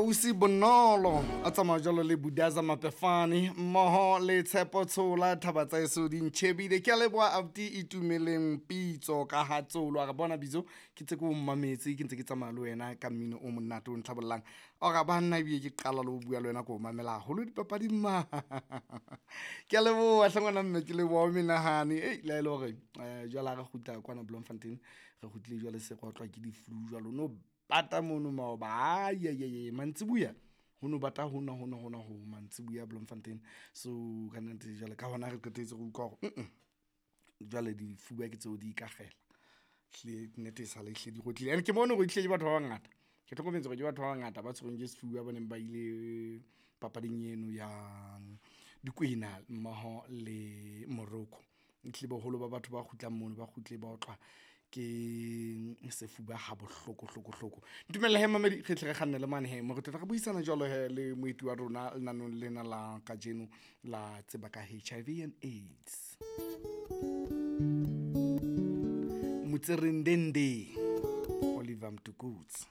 Ausi Bonolo a tsamaya jalo le Budaza Mapefane mmoho le Tshepo Tshola. Thaba tsa eso di ntšhebile. Ke a leboha abuti Itumeleng Pitso ka ha Tsolo. A re bona bitso ke tse ke o mmametse, ke ntse ke tsamaya le wena ka mmino o monate o ntlhabollang. Ora banna ebile ke qala le ho bua le wena, ke o mamela haholo dipapading ma. Ke a leboha hle ngwana mme, ke leboha o menahane. Ei, le ha e le hore jwale ha re kgutla kwana Bloemfontein, re kgutlile jwale se re otlwa ke di-flu jwalo. No bata mono maoba, ai mantsibuya ho no bata hona hona hona ho mantsibuya Bloemfontein. So ka nnete jwale ka hona re qetetse re utlwa hore jwale difuba ke tseo di ikakgela. Hlile nnete e sale hlile di rotlile. And ke bone hore ehlile ke batho ba bangata. Ke hlokometse hore ke batho ba bangata ba tshwerweng ke sefuba ba neng ba ile papading eno ya Dikwena mmoho le Morocco. Ehlile boholo ba batho ba kgutlang mono ba kgutle ba otlwa ke sefuba ha bohloko hloko hloko. Ntumelle he mamedi, re tle re kganne le mane he mo re tlotla re buisana jwalo he le moeti wa rona lenanong lena la kajeno la tseba ka HIV and AIDS. Motserendende Oliver Mtukudzi.